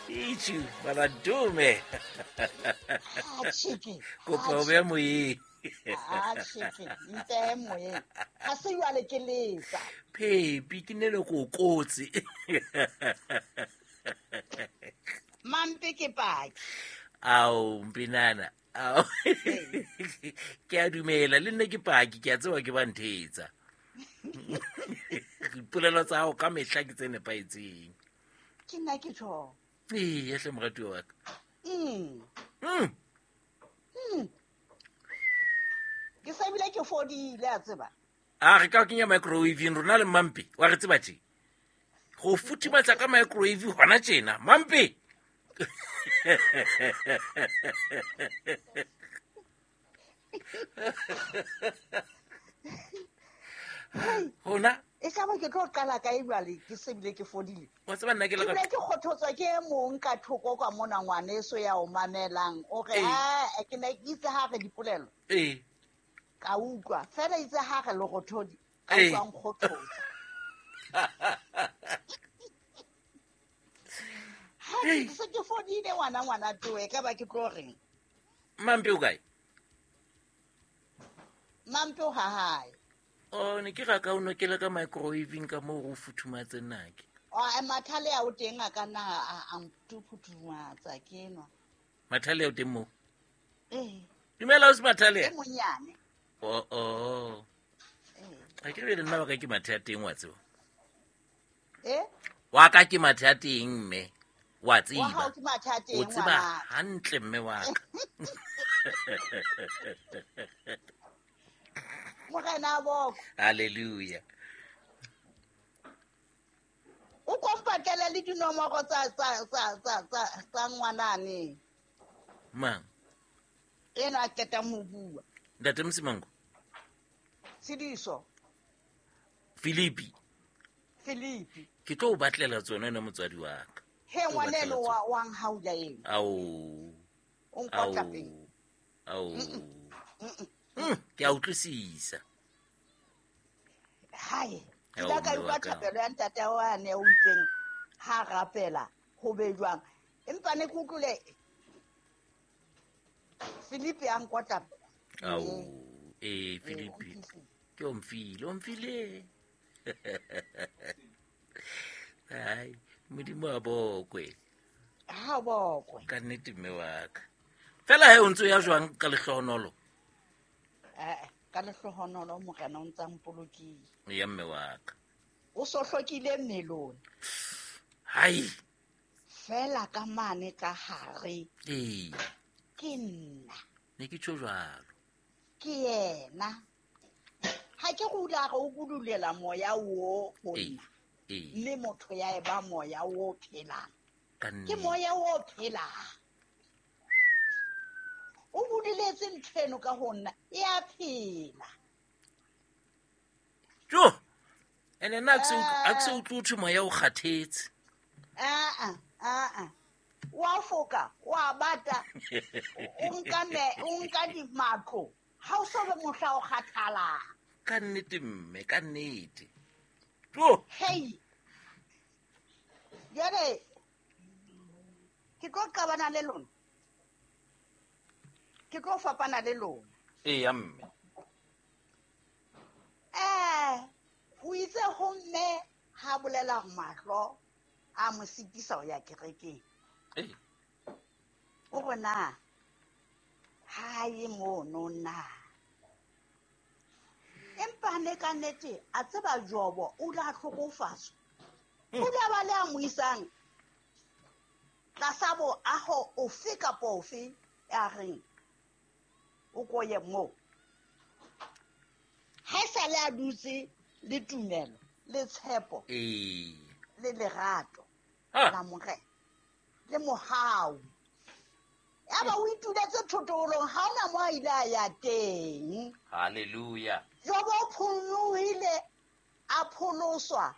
Itjhu, baladume. Tšhiki. Kopa o beya moyeng. A tšhiki, mpeye moyeng. Ga se jwale ke letsa. Phepi, ke nne le go kotsi. Mampe ke paki. Ao, mpinana. Ao. Ke a dumela, le nna ke paki, ke a tseba ke ba nthetsa. Dipolelo tsa gago ka mehla ke tse nepagetseng. Ke nna ke tjho. Ee, hle moratuwa wa ka. Ke sa ebile ke fodile, a tseba. A re ka kenya microwaveng rona le Mampe, wa re tseba tje. Go futhumatsa ka microwave hona tjena, Mampe. Hona E ka ba ke tlo qala kae jwale ke se bile ke fodile. Wa tseba nna ke le Ebile ke kgothotswa ke e mong ka thoko kwa mona ngwaneso ya o mamelang. O re, "Ah, ke ne ke itse ha re dipolelo." Ka utlwa. Fela itse ha re lerothodi, ka utlwa nkgothotsa. Ha ke se ke fodile ngwana ngwana toe, ka ba ke tlo reng? Mampe o kae? Mampe o ha hae. O ne ke ra ka o nokele ka microwaveng ka moo go futhumatse nake. O mathale a o teng a ka nna a ntufuthumatsa ke nwa. Mathale a o teng moo? Ee. Dumela o se mathale? E monyane. O, o. Ee. Ha ke re le nna wa ka ke mathe a teng wa tseba. Eh? Wa ka ke mathe a teng mme. Wa Wa tseba. hao ke mathe a teng, O tseba ngwana. hantle mme wa ka. Morena boko. Hallelujah. O kompatele le dinomoro tsa ngwanane. Mang? Ena a qetang ho bua. Ntate Msimango. Tshidiso. Philippi. Philippi. Ke tlo o batlela tsona ena motswadi wa ka. He Ke tlo o ngwaneno batlela tsona. wa nhaula eno. Ao. O nkotla Ao. pele. Ao. Mm-mm. Ke a utlwisisa. Hae, ke Ao, ile ka mme utlwa wa ka. thapelo ya ntate wa ne o itseng ha rapela ho be jwang. Empa ne ke utlwile Philippi a nkotla. Ao, Ee, Philippi. o fihlile. Ke o mfile, o mfile. Ai, Modimo a bokwe. Ha bokwe. Ka nnete mme wa ka. Fela he o ntse o ya jwang ka lehlohonolo? Ka lehlohonolo Morena o ntsa mpolokile. Ya mme wa ka. O so hlokile mmelong. Hai. Fela ka mane ka hare. Ee. Ke nna. Ne ke tjho jwalo. Ke yena. Ha ke re o ile a re o budulela moya o ho Ee. nna. Ee. Mme motho ya eba moya o phelang. Ka Ke nnete. moya o phelang. O buduletse ntho eno ka ho nna, e a phela. Jo. Ene nna ha ke se utlwe ho thwe moya o kgathetse. Aa, aa. Wa foka, wa bata. O nka me, o nka di matlo. Ha o so be mohla o kgathalang. Ka nnete mme, ka nnete. Jo. Hei. Jwale ke tlo qabana le lona. Ke tlo fapana le lona. Ee, ya mme. O itse ho mme ha bolela mahlo a mo sitisa ho ya kerekeng. Ee. O re na ha ye mono na. Empa ne ka nnete a tseba Jobo o la hlokofatswa. O la ba le a mo isang tlasa boaho ofe kapa ofe ya reng o ko ye moo. Ha e sale a dutse le tumelo, le tshepo, Ee. le lerato Ha. la Morena, le mohau. Yaba o ituletse thotolong, ha hona moo a ile a ya teng. Hallelujah. Jobo o phonyohile, a pholoswa,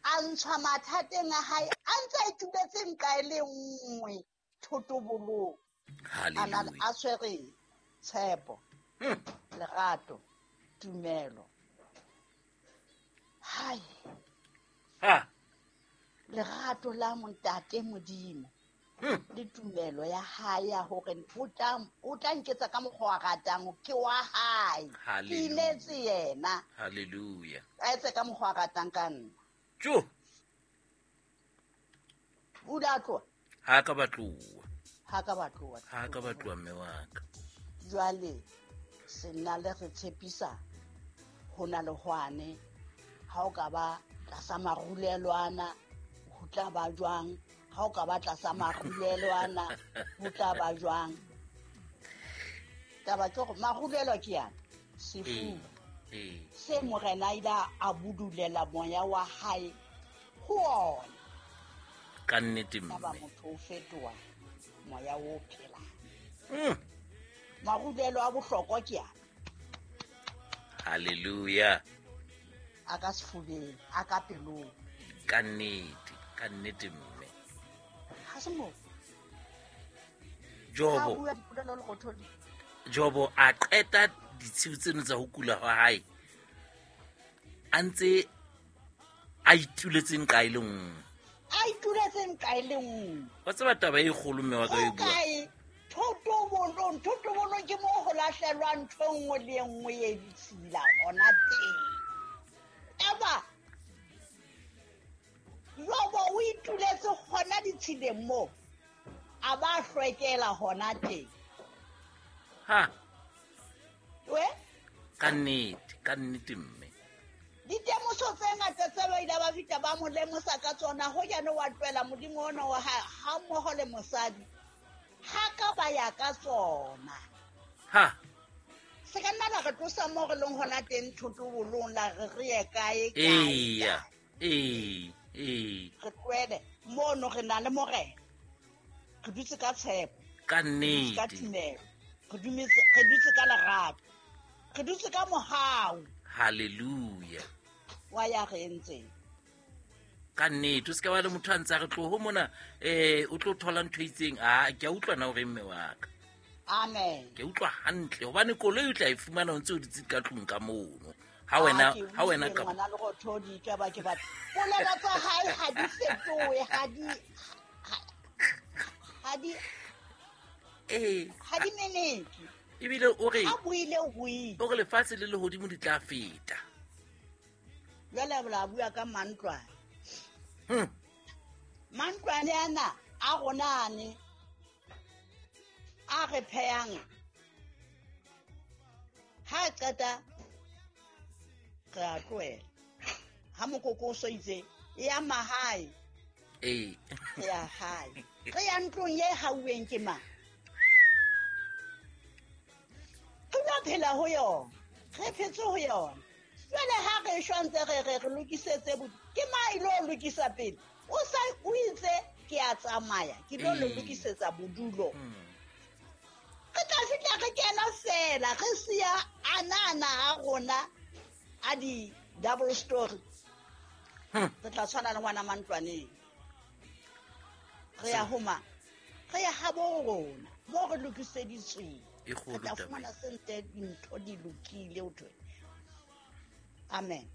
a ntshwa mathateng a hae, a ntse a ituletse nqa e le nngwe thotobolong. A na le Hallelujah. a tshwere tshepo, lerato, tumelo. Hai. Ha. Lerato la Montate Modimo le tumelo ya hae ya hore o tla nketsa ka mokgwa wa ratang, ke wa hae. Ke inetse yena. Hallelujah. A etse ka mokgwa wa ratang ka nna. Jo. O la tloha? Ha ka batloa. Ha ka batloa. Ha ka batloa mme wa ka. Jwale senna le re tshepisa ho na le hwane ha o ka ba tlasa marulelwana ho tla ba jwang, ha o ka ba tlasa marulelwana ho tla ba jwang. Taba ke hore marulelo ke yana sefuba se morena a ile a budulela moya wa hae ho ona. Ka nnete mme. Taba motho o fetoha moya o phelang. Marulelo a bohlokwa ke yana. Hallelujah. A ka sefubeng, a ka pelong. Ka nnete, ka nnete mme. Ha se moo. Jobo. Ha bua dipolelo le Rothodi. Jobo a qeta ditshiu tseno tsa ho kula hwa hae. A ntse a ituletse nqa e le nngwe. A ituletse nqa e le nngwe. Wa tseba taba e kgolo mme wa ka e bua. Kae? Thotobolong, thotobolong ke moo ho lahlelwa ntho e nngwe le e nngwe e ditshila hona teng. Eba Jobo o ituletse hona ditshileng moo, a ba hlwekela hona teng. Ha. We? Ka nnete, ka nnete mme. Ditemoso tse ngata tse ba ile ba fihla ba mo lemosa ka tsona, ho jane wa tlohela Modimo ona wa hae ha mmoho le mosadi. Ha ka ba ya ka tsona. Ha. Se ka nna la re tlosa moo re leng hona teng thotobolong la re re ye kae, kae, Eya, kae. ee, ee. Re tlohele mono re na le morena. Re dutse ka tshepo. Ka Re dutse ka nnete. tumelo. Re dutse ka lerato. Re dutse ka mohau. Hallelujah. Wa ya re entseng. Ka nnete, o se ka ba le motho a ntse a re tloho mona, o tlo thola ntho e itseng. Ah, ke a utlwa na hore mme wa ka. Amen. Ke utlwa hantle hobane koloi o tla e fumana o ntse o dutse ka tlung ka mono. Ha wena, ha wena ka ngwana le Rothodi ka ba ke batla. Polelo tsa hae ha di fetohe, ha di, ha di, ha di meneke. Ebile o re, Ha buile, o buile. O re lefatshe le lehodimo di tla feta. Jwale la bua ka mantlwane. Mantlwane ana a rona ane a re phehang. Ha qeta re a tlohela. Ha mokoko o so itse, e ya mahae. Re ya hae. Re ya ntlong e hauweng ke mang? Re tla phela ho yona. Re phetse ho yona. Jwale ha re shwa ntse re re re lokisetse ke mang ilo lokisa pele? O sa o itse ke a tsamaya, ke tlo le lokisetsa bodulo. Re tla fihla re kena fela, re siya anana a rona a di double story. Re tla tshwana le ngwana mantlwaneng. Re ya ho mang? Re ya habo rona, moo re lokiseditsweng. E kgolo Re tla taba fumana ena. sente dintho di lokile, ho thwe. Amen.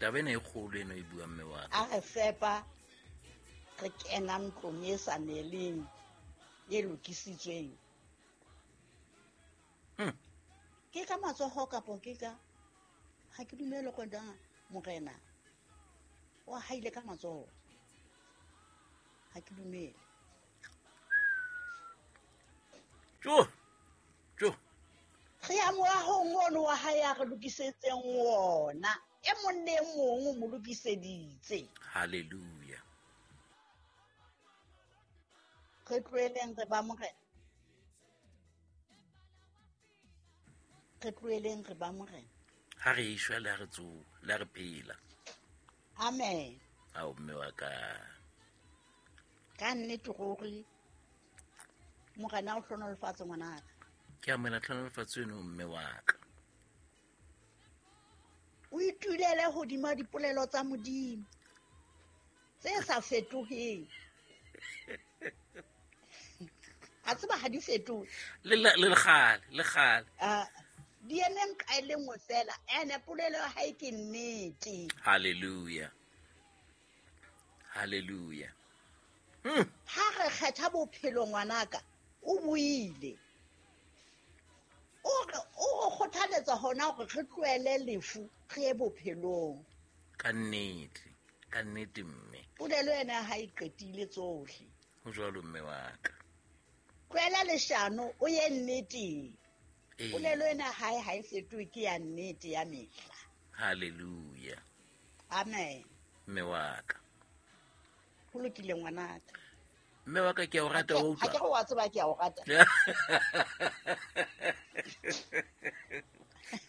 Taba ena e kgolo eno e buang mme wa ka. A re fepa, re kena ntlong e sa neleng, e lokisitsweng. Ke ka matsoho kapo ke ka, ha ke dumele go na morena o haile ka matsoho. Ha ke dumele. Jo. Jo. Re ya moahong ono wa hae a re lokisetseng wona. E mong le e mong o mo lokiseditse. Hallelujah. Re tlohelleng re ba morena. Re tlohelleng re ba morena. Ha re eshwa le ha re tsoha, le ha re phela. Amen. Ao mme wa ka. Ka nnete ruri morena o hlohonolofatse ngwanaka. Ke amohela tlhohonolofatso eno mme wa ka. O itulele hodima dipolelo tsa Modimo tse sa fetoheng. A tseba ha di fetohe. Le le kgale, le kgale. Di eme nqa e le nngwe fela, ene polelo ya hae ke nnete. Hallelujah. Hallelujah. Ha re kgetha bophelo ngwanaka, o buile. O re kgothaletsa hona hore re tlohele lefu re ye bophelong. Ka nnete mme. Polelo ena ha e qetile tsohle. Ho jwalo mme wa ka. Tlohela leshano o ye nneteng. Polelo ena ha e fetohe, ke ya nnete ya mehla. Hallelujah. Amen. Mme wa ka. Ho lokile ngwanaka. Mme wa ka, ke a o rata, wa utlwa. Ha ke re wa tseba ke a o rata.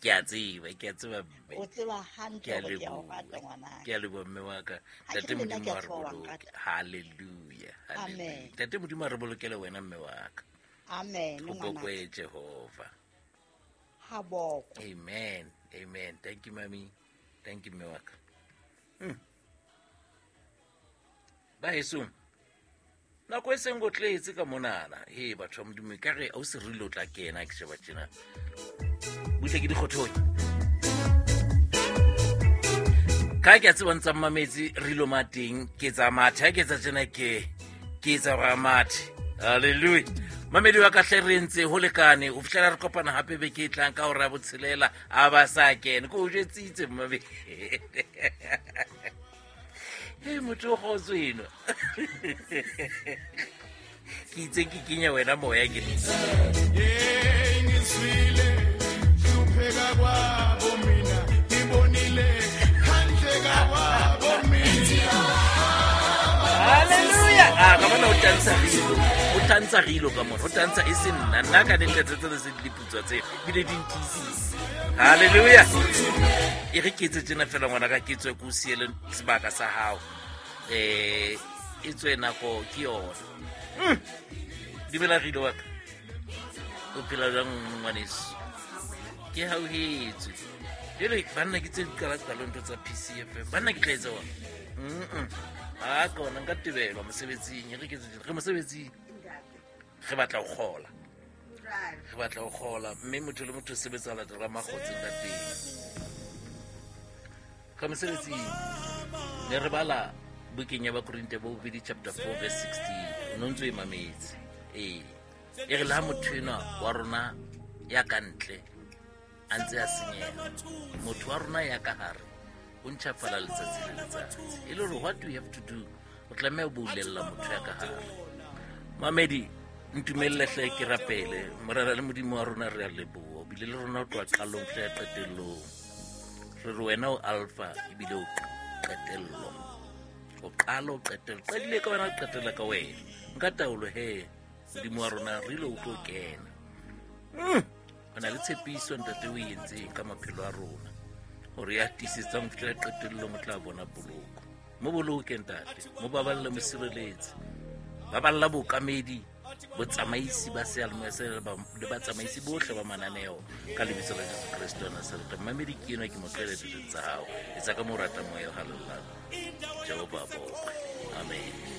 Ke a tseba mme. O tseba hantle hore ke a o rata ngwanaka. Ke a leboha mme wa ka. Ntate Modimo a re boloke. Hallelujah. Amen. Ntate Modimo a re bolokele wena mme wa ka. Amen ngwanaka. Ho bokwe Jehova. Ha bokwe. Amen. Amen. Thank you mami. Thank you mme wa ka. Ba heso. Nako e seng go tletse ka monana. He batho ba Modimo ka re o se rile o tla kena ke sheba tjena. Butle ke dikgothong. Ka ke a tseba ntsa mametsi re lo mateng ke tsa mathe ke tsa tjena ke tsa ra mathe. Hallelujah. Mamedi wa ka hle re ntse ho lekane o fihlela re kopana hape beke e tlang ka hora ya botshelela a ba sa kene ko o jwetsitse mmamedi. Hey motho o kgotso eno. Ke itse ke kenya wena moya ke. Hallelujah. Ah, ka bona o tantsha rilo. O tantsha rilo ka mona. O tantsha e se nna. Nna ka ntle tse se di putswa tse bile di ntisitse. Hallelujah. E re ke etse tjena fela ngwana ka ke tswe ko siele sebaka sa hao. E tswe nako ke yona. Dumela rilo wa ka. O phela jwang ngwaneso? Ke hauhetswe. Jwale banna ke tse di qala ntho tsa PCFM. Banna ke tla etsa wa. A ka ona nka tebelwa mosebetsing, re ke re mosebetsing. Re batla ho kgola. Re batla ho kgola mme motho le motho o sebetsa latela makgotseng ka teng. Ka mosebetsing ne re bala bukeng ya Bakorinte bo bobedi chapter 4 verse 16. O no ntso e mametse. E re le ha motho enwa wa rona ya ka ntle a ntse a senyeha, motho wa rona ya ka hare o ntjhafala letsatsi le letsatsi. E le hore what do you have to do? O tlameha ho boulella motho ya ka hare. Mamedi, ntumelle hle ke rapele. Morena le Modimo wa rona re a leboha. O bile le rona ho tloha qalong hle ya qetellong. Re re wena o alpha ebile o qetello. O qala o qetella. Qadile ka wena, o qetella ka wena. Nka taolo he Modimo wa rona re ile o tlo kena. O na le tshepiso ntate o e entseng ka maphelo a rona. Hore ya tiisetsang ho fihlela qetellong o tla bona poloko. Mo boloke ntate, mo baballe, mo sireletse. Baballa bookamedi, botsamaisi ba seyalemoya se le batsamaisi bohle ba mananeo ka lebitso la Jesu Kreste wa Nazareta. Mamedi ke enwa ke mo tlohele ditlong tsa hao. Etsa ka mo o ratang moya o halalelang. Jehova a bokwe. Amen.